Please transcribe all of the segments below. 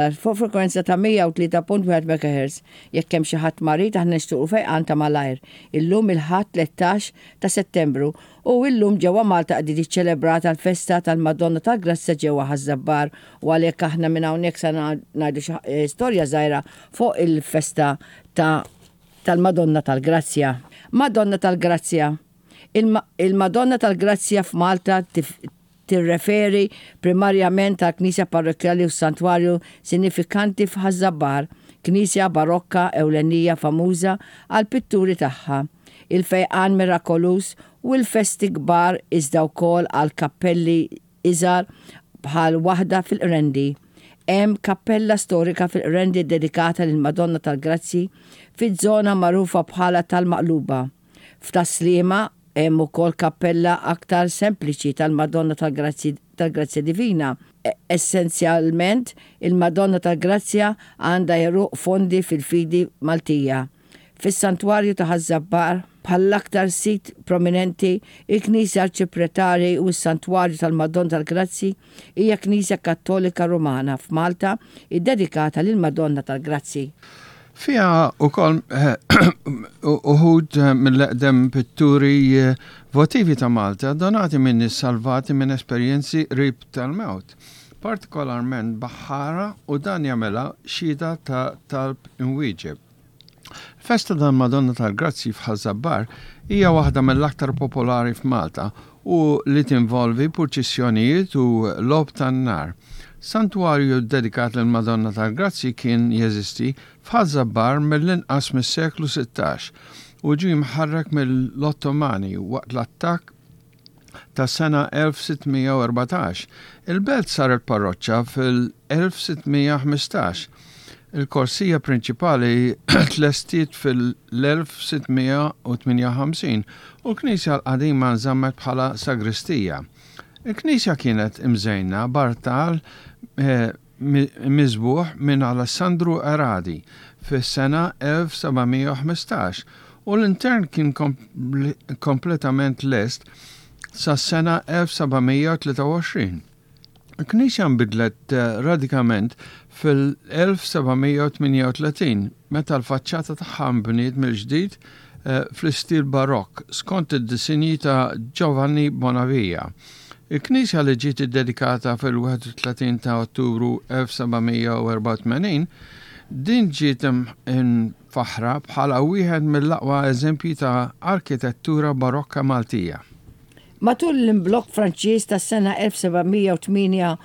Fuq frekwenza ta' 103.1 MHz. Jekk hemm xi ħadd marid aħna nixtiequ fejqan ta' malajr. Illum il-Ħadd 13 ta' Settembru u illum ġewwa Malta qegħdin iċċelebrata l-festa tal-Madonna tal-Grazzja ġewwa Ħaż-Żabbar u għalhekk aħna minn hawnhekk sa ngħidu xi storja żgħira fuq il-festa ta' tal-Madonna tal-Grazzja. Madonna tal-Grazzja Il-Madonna tal-Grazzja f'Malta tirreferi primarjament għall-knisja parrokkjali u s-santwarju sinifikanti f'Ħaż-Żabbar, knisja barokka ewlenija famuża għall-pitturi tagħha, il-fejqan mirakoluż u l-festi kbar iżda wkoll għal kappelli iżgħar bħal waħda fil-Qrendi. Hemm kappella storika fil-Qrendi ddedikata lill-Madonna tal-Grazzji fiż-żona magħrufa bħala tal-Maqluba. F'Tas-Sliema hemm ukoll kappella aktar sempliċi tal-Madonna tal-Grazzji tal-Grazzja Divina. Essenzjalment, il-Madonna tal-Grazzja għandha għeruq fondi fil-fidi Maltija. Fis-Santwarju ta' Ħaż-Żabbar, bħall-aktar sit prominenti, il-Knisja Arċipretali u s-Santwarju tal-Madonna tal-Grazzji hija knisja Kattolika Rumana f'Malta ddedikata lill-Madonna tal-Grazzji. Fiha wkoll uħud mill-eqdem pitturi votivi ta' Malta donati minn nies salvati minn esperjenzi qrib tal-mewt, partikolarment baħħara u dan jagħmilha xhieda ta' talb imwieġeb. Il-festa tal-Madonna tal-Grazzji f'Ħaż-Żabbar hija waħda mill-aktar popolari f'Malta u li tinvolvi purċissjonijiet u logħob tan-nar. Santwarju ddedikat lill-Madonna tal-Grazzji kien jeżisti f'Ħaż-Żabbar mill-inqas mis-seklu 16 u ġie mħarrek mill-Ottomani waqt l-attakk tas-sena 1614. Il-belt saret parroċċa fil-1615. Il-korsija prinċipali tlestiet fil-1658 u l-knisja l-qadima nżammet bħala sagristija. Il-knisja kienet imżejna b'artal miżbugħ minn Alessandru Eradi fis-sena 1715 u l-intern kien kompletament lest sas-sena 1723. Il-knisja nbidlet radikament fil-1738 meta l-faċċata tagħha nbniet mill-ġdid fl-istil Barokk skont id-disinji ta' Giovanni Bonavia. Il-knisja li ġiet iddedikata fil-31 ta' Ottubru 1784, din ġiet imfaħħra bħala wieħed mill-aqwa eżempji ta' arkitettura Barokka Maltija. Matul l-imblokk Franċiż tas-sena 1798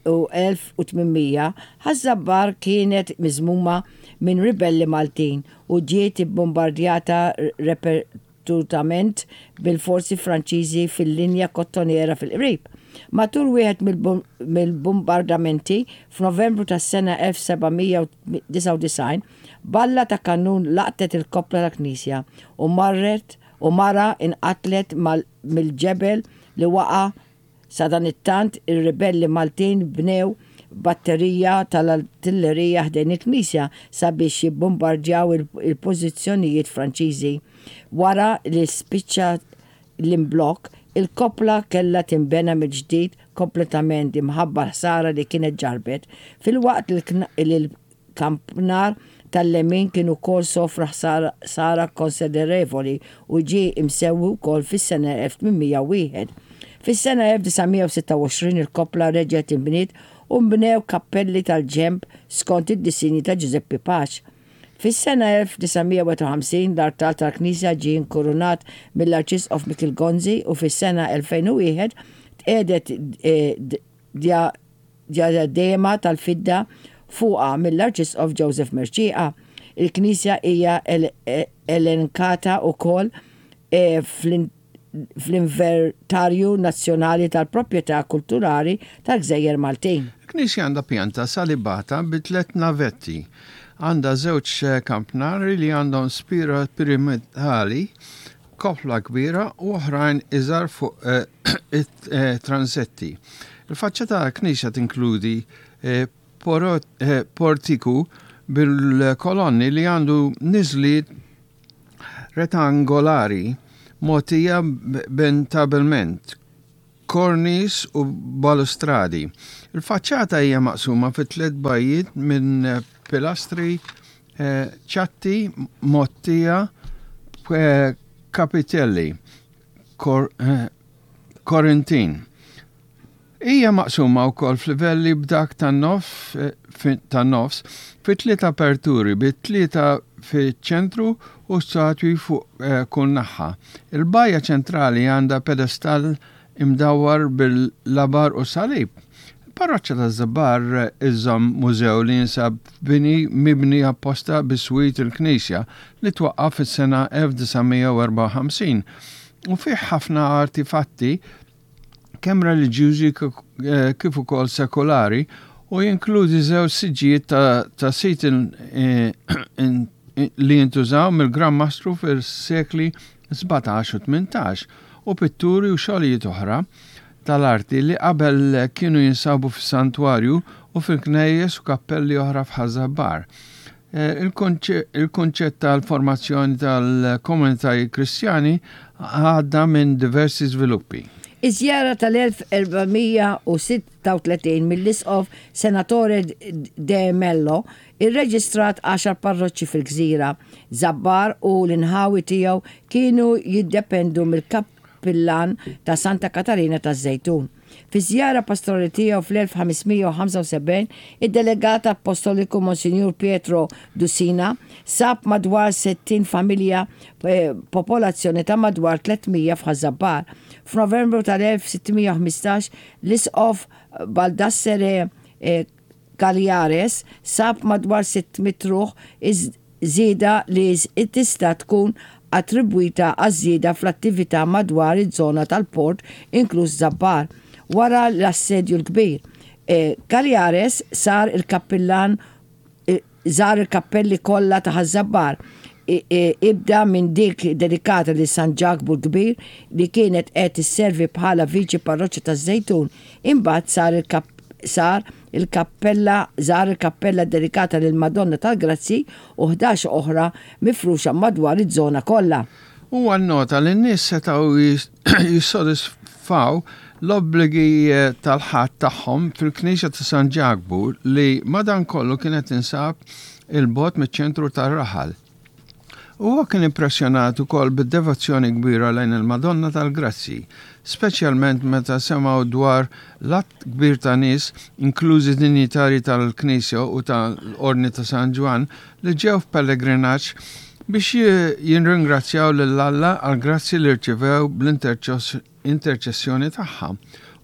u 1800, Ħaż-Żabbar kienet miżmuma minn ribelli Maltin u ġiet ibbombardjata repetutament bil-forzi Franċiżi fil-linja kottonera fil-qrib. Matul wieħed mill-bumbardamenti, f'Novembru tas-sena 1799, balla ta' kannun laqtet il-koppla tal-knisja u marret u mara inqatlet mill-ġebel li waqa' Sadanittant, ir-ribelli Maltin bnew batterija tal-artillerija ħdejn il-knisja sabiex jibbumbardjaw il-pożizzjonijiet Franċiżi. Wara li spiċċa l-imblokk, il-koppla kellha tinbena mill-ġdid kompletament imħabba l-ħsara li kienet ġarrbet, filwaqt li Kampnar tal-lemin kien ukoll sofra ħsara konsiderevoli u ġie imsewwi wkoll fis-sena 1801. Fis-sena 1926 il-koppla reġgħet inbniet u nbnew kappelli tal-ġenb skont id-disinji ta' Ġużeppi Pace. Fis-sena 1951 l-artal tal-knisja ġie inkurunat mill-Arċisqof Mikiel Gonzi u fis-sena 2001 tqiegħdet djadema tal-fidda fuqha mill-Arċisqof Joseph Mercieca. Il-knisja hija elenkata wkoll fl-Inventarju Nazzjonali tal-Proprjetà Kulturali tal-Gżejjer Maltin. Il-knisja għandha pjanta salibata bi tlett navetti. Għandha żewġ kampnari li għandhom spira piramidali, koppla kbira u oħrajn iżgħar fuq it-transetti. Il-faċċata tal-knisja tinkludi portiku bil-kolonni li għandu niżliet rettangolari mogħtija b'entabilment. kornis u balustradi. Il-faċċata hija maqsuma fi tliet bajjiet minn pilastri ċatti mgħottija b'kapitelli Korintin. Hija maqsuma wkoll f'livelli b'dak tan-nofs fi tliet aperturi bi tlieta fiċ-ċentru u statwi fuq kull naħa. Il-bajja ċentrali għandha pedestall imdawwar bil-labar u salib. Il-parroċċa taż-Żabbar iżżomm mużew li jinsab f'bini mibni apposta biswit il-knisja li twaqqaf fis-sena 1954 u fih ħafna artifatti kemm reliġjużi kif ukoll sekulari u jinkludi żewġ siġġijiet ta' sit li jintużaw mill-Gran Mastru fis-sekli 17 u 18 u pitturi u xogħlijiet oħra tal-arti li qabel kienu jinsabu fis-santwarju u fil-knejjes u kappelli oħra f'Ħaż-Żabbar. Il-kunċett tal-formazzjoni tal-komunitajiet Kristjani għadda minn diversi żviluppi. Iż-żjara tal-1436 mill-Isqof Senatore de Mello rreġistrat għaxar parroċċi fil-gżira. Żabbar u l-inħawi tiegħu kienu jiddependu mill-kappillan ta' Santa Katarina taż-Żejtun. Fiż-żjara pastorali tiegħu fl-1575, id-delegat appostoliku Monsinjur Pietro Dusina sab madwar 60 familja b'popolazzjoni ta' madwar 300 f'Ħaż-Żabbar. F'Novembru tal-1615, l-Isqof Baldassere Cagliares sab madwar 600 ruħ żieda li tista' tkun attribwita għaż-żieda fl-attività madwar iż-żona tal-port inkluż Żabbar wara l-Assedju l-Kbir. Cagliares sar il-kappillan żar il-kappelli kollha ta' Ħaż-Żabbar, ibda minn dik dedikata lil San Ġakbu l-Kbir li kienet qed isservi bħala viċi parroċċa taż-Żejtun, imbagħad sar sar il-kappella żar il-kappella ddedikata lill-Madonna tal-Grazzji u 11 oħra mifruxa madwar iż-żona kollha. Huwa nnota li n-nies setgħu jissodisfaw l-obbligi tal-Ħadd tagħhom fil-Knisja ta' San Ġakbu li madankollu kienet tinsab 'il bogħod miċ-ċentru tar-raħal. Huwa kien impressjonat ukoll bid-devozzjoni kbira lejn il-Madonna tal-Grazzji, speċjalment meta semgħu dwar l-għadd kbir ta' nies, inklużi dinjitarji tal-Knisja u ta' l-Ordni ta' San Ġwann, li ġew f'pellegrinaġġ biex jirringrazzjaw lil Alla għall-grazzji li rċivew bl-interċessjoni tagħha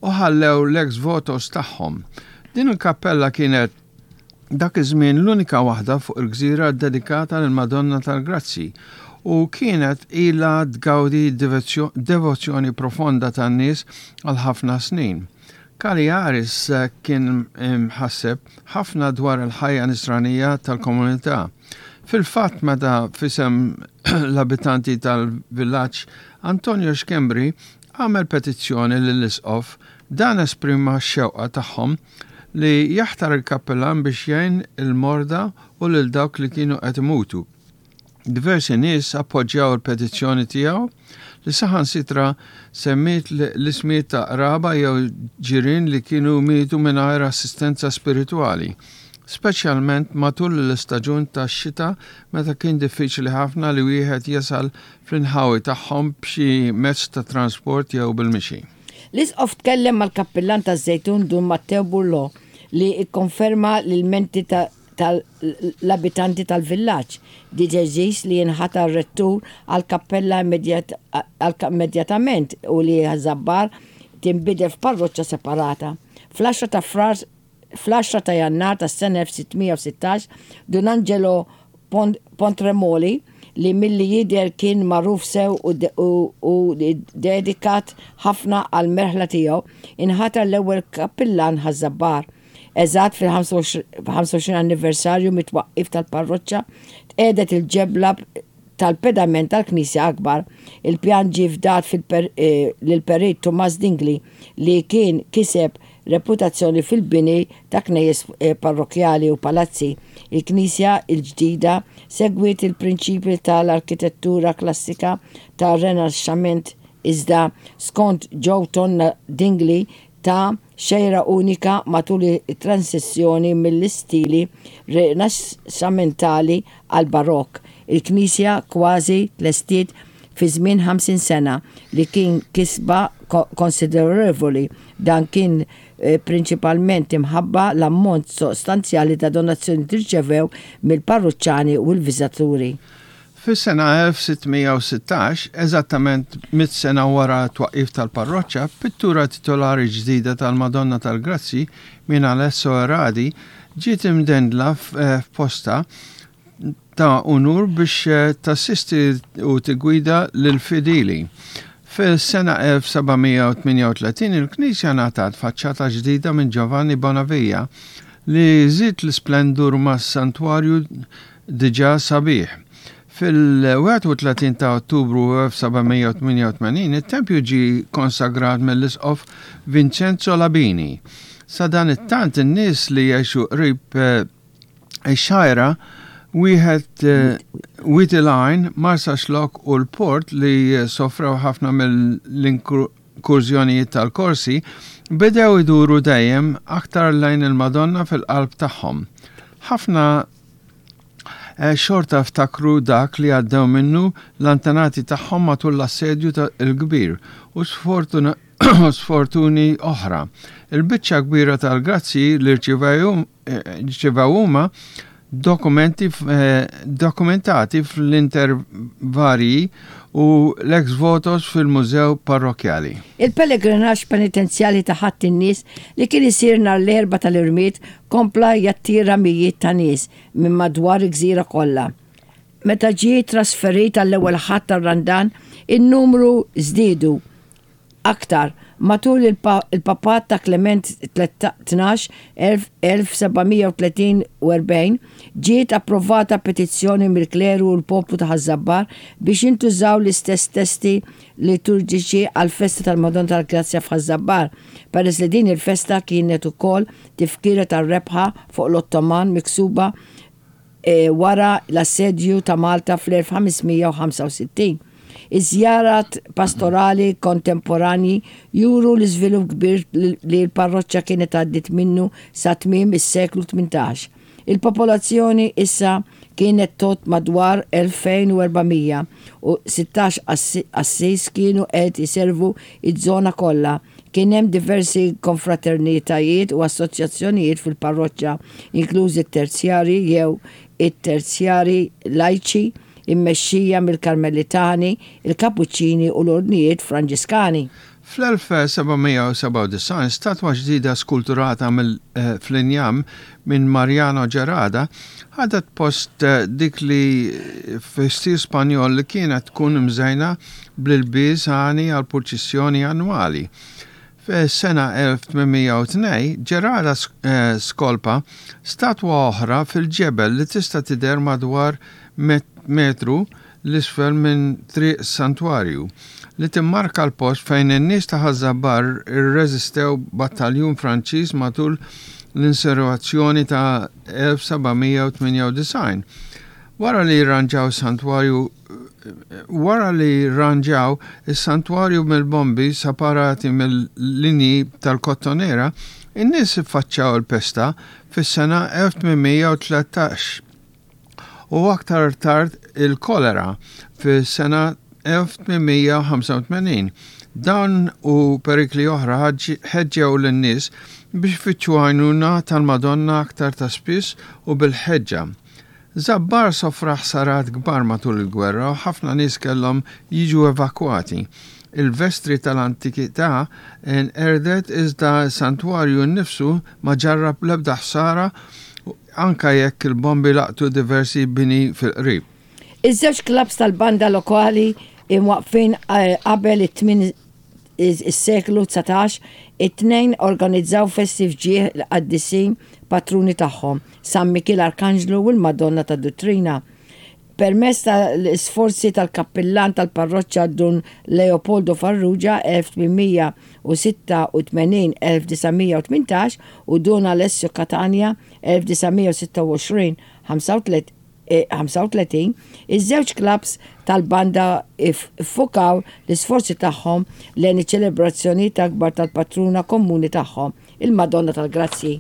u ħallew l-ex votos tagħhom. Din il-kappella kienet dak iż-żmien l-unika waħda fuq il-gżira ddedikata lill-Madonna tal-Grazzji u kienet ilha tgawdi devozzjoni profonda tan-nies għal ħafna snin. Caliaris kien imħasseb ħafna dwar il-ħajja nisranija tal-komunità. Fil-fatt meta f'isem l-abitanti tal-villaġġ Antonio Schembri għamel petizzjoni lill-Isqof, dan esprima x-xewqa tagħhom li jaħtar il-kappillan biex jgħin il-morda u lil dawk li kienu qed imutu. Diversi nies appoġġjaw il-petizzjoni tiegħu li saħansitra semmiet l-ismijiet ta' qraba jew ġirien li kienu mietu mingħajr assistenza spiritwali, speċjalment matul l-istaġun tax-xita meta kien diffiċli ħafna li wieħed jasal fl-inħawi tagħhom b'xi mezz ta' transport jew bil-mixi. L-Isqof tkellem mal-Kappillan taż-Żejtun Dun Matteo Burlò li kkonferma l-ilmenti tal-abitanti tal-villaġġ. Ġie deċiż li jinħatar rettur għall-kappella immedjatament u li Ħaż-Żabbar tinbidel f'parroċċa separata. Fl-għaxra ta' Frar Fl-għaxra ta' Jannar tas-sena 1616, Dun Angelo Pontremoli, li milli jidher kien magħruf sew u dedikat ħafna għall-merħla tiegħu, inħatar l-ewwel kappillan Ħaż-Żabbar. Eżatt fil-25 anniversarju mit-twaqqif tal-parroċċa, tqiegħdet il-ġebla tal-pedament tal-knisja akbar. Il-pjan ġie fdat lill-Perit Tumas Dingli li kien kiseb reputazzjoni fil-bini ta' knejjes parrokkjali u palazzi. Il-knisja l-ġdida segwiet il-prinċipji ta' l-arkitettura klassika tar-Renaxxament iżda skont Joe Tonna Dingli ta xejra unika matul it-transizzjoni mill-istili Rinaxxamentali għall-Barokk. Il-knisja kważi tlestiet fi żmien 50 sena, li kien kisba konsiderevoli. Dan kien prinċipalment imħabba l-ammont sostanzjali ta' donazzjonijiet li rċevew mill-parruċċani u l-viżitaturi. Fis-sena 1616, eżattament mitt sena wara t-twaqqif tal-parroċċa, pittura titolari ġdida tal-Madonna tal-Grazzji minn Alesso Erradi ġiet imdendla f'postha ta' unur biex tassisti u tiggwida lill-fidili. Fis-sena 1738 il-knisja ngħatat faċċata ġdida minn Giovanni Bonavia li żied l-isplendur mas-santwarju diġà sabiħ. Fil-31 ta' Ottubru 1788 it-tempju ġie konsagrat mill-Isqof Vincenzo Labini. Sadanittant in-nies li jgħixu qrib ix-Xgħajra, wieħed Wied il-Għajn, Marsaxlokk u l-Port li sofrew ħafna mill-inkurżjonijiet tal-Korsi, bedew iduru dejjem aktar lejn il-Madonna fil-qalb tagħhom. Ħafna xorta ftakru dak li għaddew minnu l-antenati tagħhom matul l-Assedju l-Kbir u sfortuni oħra. Il-biċċa kbira tal-grazzji li rċivew huma dokumenti dokumentati fl-intervarji u l-ex votos fil-Mużew Parrokkjali. Il-pellegrinaġġ penitenzjali ta' Ħadd in-Nies li kien isir nhar l-Erbgħa tal-Irmied kompla jattira mijiet ta' nies minn madwar il-gżira kollha. Meta ġie trasferit għall-ewwel Ħadd tar-Randan, in-numru żdiedu aktar. Matul il-Papat ta' Klement 12, 1743, ġiet approvata petizzjoni mill-kleru u l-poplu ta' Ħaż-Żabbar biex jintużaw l-istess testi liturġiċi għall-festa tal-Madonna tal-Grazzja f'Ħaż-Żabbar, peress li din il-festa kienet ukoll tifkira tar-rebħa fuq l-Ottoman miksuba wara l-Assedju ta' Malta fl-1565. Iż-żjarat pastorali kontemporanji juru l-iżvilupp kbir li l-parroċċa kienet għaddiet minnu sa tmiem is-seklu 18. Il-popolazzjoni issa kienet tgħodd madwar 2,400 u 16 qassis kienu qed iservu ż-żona kollha. Kien hemm diversi konfraternitajiet u assoċjazzjonijiet fil-parroċċa, inklużi t-Terzjarji jew it-Terzjarji Lajċi, immexxija mill-Karmelitani, il-Kapuċċini u l-Ordnijiet Franġiskani. Fl-1797, statwa ġdida skulturata fl-injam minn Mariano Gerada ħadet post dik li fi stil Spanjol li kienet tkun imżejna bl-ilbies għani għall-purċissjoni annwali. Fis-sena 1802, Gerada skolpa statwa oħra fil-ġebel li tista' tidher madwar metru 'l isfel minn Triq Santwarju, li timmarka l-post fejn in-nies ta' Ħaż-Żabbar irreżistew battaljun Franċiż matul l-insurrezzjoni ta' 1798. Wara li rranġaw is-santwarju wara li rranġaw is-santwarju mill-bombi separati mill-linji tal-Kottonera, in-nies iffaċċjaw il-pesta fis-sena 1813. u aktar tard il-kolera fis-sena 1885. Dawn u perikli oħra ħeġġew lin-nies biex ifittxu għajnuna tal-Madonna aktar ta' spiss u bil-ħeġġa. Żabbar sofra ħsarat kbar matul il-gwerra u ħafna nies kellhom jiġu evakwati. Il-vestri tal-antikità nqerdet iżda s-santwarju nnifsu ma ġarrab l-ebda ħsara anke jekk il-bombi laqtu diversi bini fil-qrib. Iż-żewġ klabbs tal-banda lokali imwaqqfin qabel it-tmien is-seklu 19, it-tnejn organizzaw festi f'ġieħ il-qaddisin patruni tagħhom, San Mikiel Arkanġlu u l-Madonna tad-Duttrina. Permezz ta' l-isforzi tal-kappillan tal-parroċċa Dun Leopoldo Farrugia, 1886, 1918, u Dun Alessio Catania, 1926, 1935, iż-żewġ klabbs tal-banda ffukaw l-isforzi tagħhom lejn iċ-ċelebrazzjonijiet akbar tal-patruna komuni tagħhom, il-Madonna tal-Grazzji.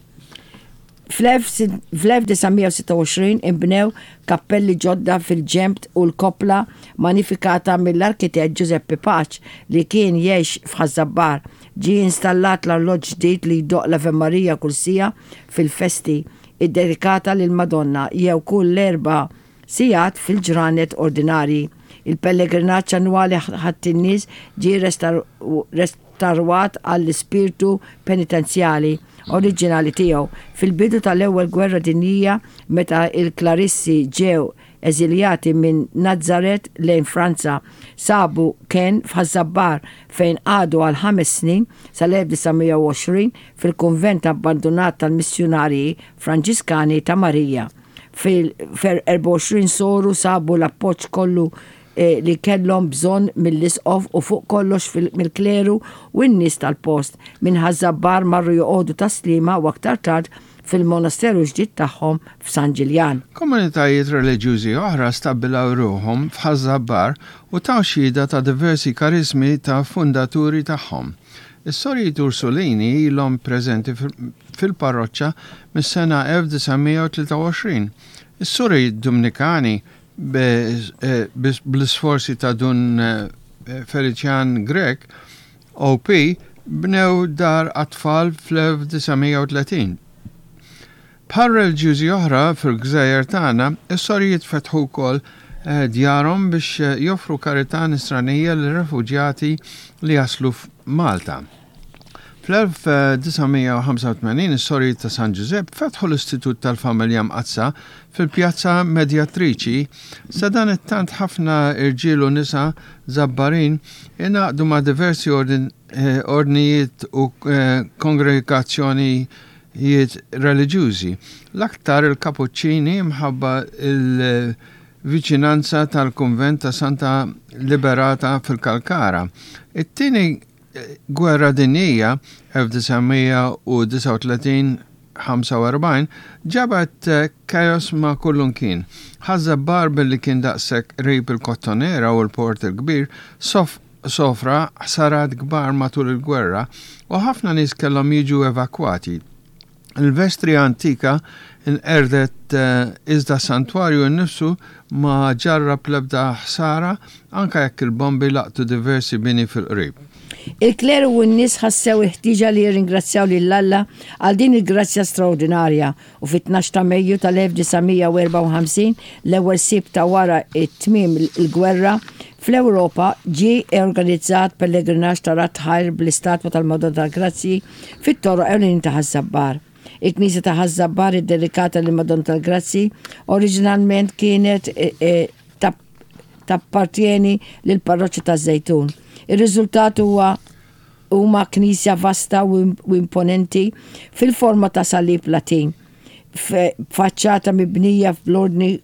Fl-1926 inbnew kappelli ġodda fil-ġenb u l-koppla manifikata mill-arkitett Giuseppe Pace li kien jgħix f'Ħaż-Żabbar. Ġie installat l-arloġġ ġdid li jdoqq l-Ave Maria kull siegħa fil-festi iddedikata lill-Madonna jew kull erba' sigħat fil-ġranet ordinarji. Il-pellegrinaġġ annwali Ħadd in-Nies ġie restarwat għall-ispirtu penitenzjali oriġinali tiegħu. Fil-bidu tal-Ewwel Gwerra Dinjija meta l-Klarissi ġew eżiljati minn Nazaret lejn Franza, sabu kenn f'Ħaż-Żabbar fejn qagħdu għal ħames snin sal-1920 fil-kunvent abbandunat tal-Missjunarji Franġiskani ta' Marija. Fil-24 soru sabu l-appoġġ kollu li kellhom bżonn mill-isqof u fuq kollox mill-kleru u n-nies tal-post. Minn Ħaż-Żabbar marru joqogħdu Tas-Sliema u aktar tard fil-monasteru ġdid tagħhom f'San Ġiljan. Komunitajiet reliġjużi oħra stabbilaw ruħhom f'Ħaż-Żabbar u taw xhieda ta' diversi kariżmi ta' fundaturi tagħhom. Is-Sorijiet Ursulini ilhom preżenti fil-parroċċa mis-sena 1923. Is-Sorijiet Dumnikani bl-isforzi ta' Dun Feliċjan Grech, OP, bnew dar għat-tfal fl-1930. Bħal reliġjużi oħra fil-gżejjer tagħna, is-sorijiet fetħu wkoll djarhom biex joffru karità nisranija lir-refuġjati li jaslu f'Malta. Fl-1985 is-Sorijiet ta' San Ġużepp fetħu l-Istitut tal-Familja Mqaddsa fil-Pjazza Medjatriċi. Sadanittant ħafna irġiel u nisa Żabbarin ingħaqdu ma' diversi ordnijiet u kongregazzjonijiet reliġjużi, l-aktar il-Kapuċċini mħabba l-viċinanza tal-kunvent ta' Santa Liberata fil-Kalkara. It-tieni Gwerra Dinjija, 1939, 45, ġabet chaos ma' kullunkien. Ħaż-Żabbar billi kien daqshekk qrib il-Kottonera u l-Port il-Kbir, sofra ħsarat kbar matul il-gwerra u ħafna nies kellhom jiġu evakwati. Il-vestri antika nqerdet iżda s-santwarju nnifsu ma ġarrab l-ebda ħsara anke jekk il-bombi laqtu diversi bini fil-qrib. Il-kleru u n-nies ħassew il-ħtieġa li jirringrazzjaw lil Alla għal din il-grazzja straordinarja u fit-tnax ta' Mejju tal-1954, l-ewwel Sibt ta' wara t-tmiem il-gwerra fl-Ewropa, ġie organizzat pellegrinaġġ ta' radd ħajr bl-istatwa tal-Madonna tal-Grazzji fit-toroq ewlenin ta' Ħaż-Żabbar. Il-knisja ta' Ħaż-Żabbar iddedikata lill-Madonna tal-Grazzji oriġinalment kienet tappartjeni lill-parroċċa taż-Żejtun. Ir-riżultat huwa huma knisja vasta u imponenti fil-forma ta' salib Latin. b'faċċata mibnija bl-ordni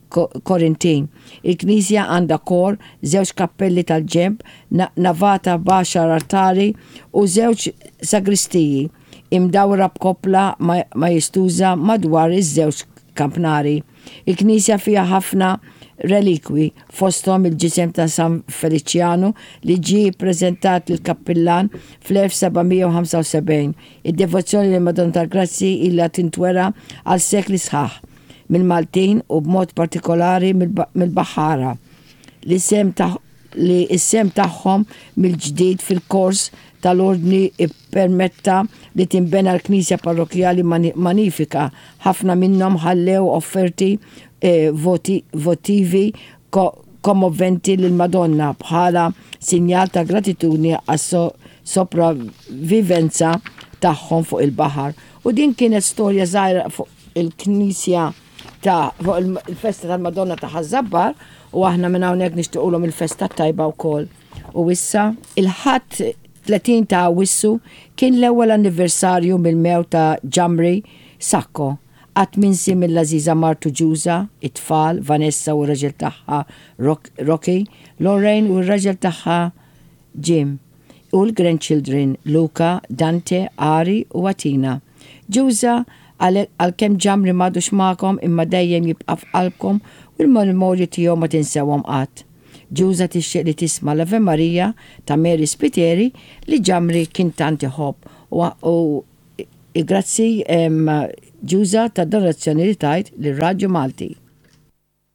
Korintin. Il-knisja għandha kor, żewġ kappelli tal-ġenb, navata b'għaxar altari u żewġ sagristiji, imdawra b'koppla majestuża madwar iż-żewġ kampnari. Il-knisja fiha ħafna relikwi, fosthom il-ġisem ta' San Feliċjanu li ġie ppreżentat lill-kappillan fl-1775. Id-devozzjoni lill-Madonna tal-Grazzji ilha tintwera għal sekli sħaħ mill-Maltin u b'mod partikolari mill-baħħara li sehem li s-sehem tagħhom mill-ġdid fil-kors tal-Ordni ppermetta li tinbena l-knisja parrokkjali manifika. Ħafna minnhom ħallew offerti votivi kommoventi lill-Madonna bħala sinjal ta' gratitudni għas-sopravivenza tagħhom fuq il-baħar. U din kienet storja żgħira fuq il-knisja ta' fuq il-festa tal-Madonna ta' Ħaż-Żabbar u aħna minn hawnhekk nixtiequlhom il-festa t-tajba wkoll. U issa, il-Ħadd 30 ta' Awwissu kien l-ewwel anniversarju mill-mewt ta' Ġamri Sacco, Qatt minsi mill-għażiża martu Ġuża, it-tfal, Vanessa u r-raġel tagħha Rocky, Lorraine u r-raġel tagħha Jim, u l-grandchildren Luca, Dante, Ari u Athena. Ġuża Għalkemm Ġamri m'għadux magħkom imma dejjem jibqa' f'qalbkom u l-memorji tiegħu ma tinsewhom qatt. Ġuża tixtieq li tisma' l-Ave Maria ta' Mary Spiteri li Ġamri kien tant iħobb u grazzi Ġuża tad-donazzjoni li tajt lir-Radju Malti.